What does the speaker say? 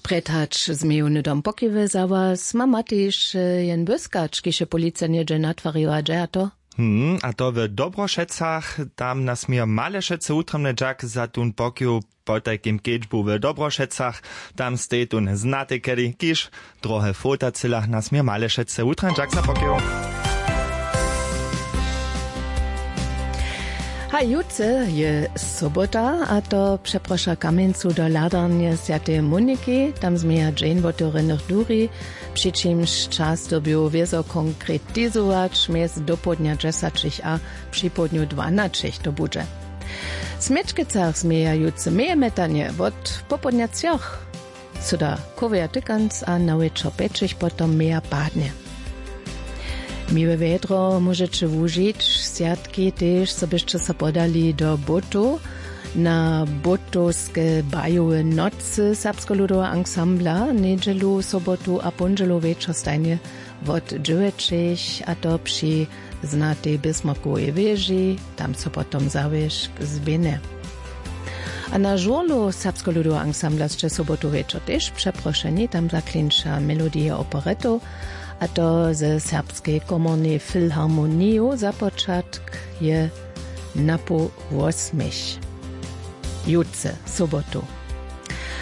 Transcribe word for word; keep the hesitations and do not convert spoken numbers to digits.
Prjed hač změju hnydom pokiwy za was ma matež jen błyskać kiž je policija něhdźe natwariła dźe a to. Hm a to w dobrošecach. Tam nas mějo malešecy wutrjemny dźak za tón pokiw. Potajkim kedźbu w dobrošecach tam stej tón znaty kedy kiž drohe fotacyla nas mějo malešecy wutrjemny dźak za pokiw. Haj jutře je sobota a to přeproša kamjencu do hladarnje swjateje moniki. Tam změja dźeń wotewrjenych duri, při čimž čas dyrbju wězo konkretizować mjez dopołdnja dźesaćich a připołdnju dwanaćich to budźe. W směčkecach změja jutře meje metanje wot popołdnja třoch, syda kowja tykanc a na wječor pjećich potom meja padnje. Miłe wjedro móžeće wužić swjatki tež zo byšće so podali do bótow. Na bótowske bajowe nocy serbskoludoweho ansambla njedźelu sobotu a póndźelu wječor stajnje wot dźewjećich a to při znatej bismarkowej wěži. Tam so potom zawěšk zběhne. A na žurlu serbskoludoweho ansambla sće sobotu wječor tež přeprošeni tam zaklinča melodije operetow a to ze serbskej komornej filharmoniju započatk je napoł wosmich jutře sobotu.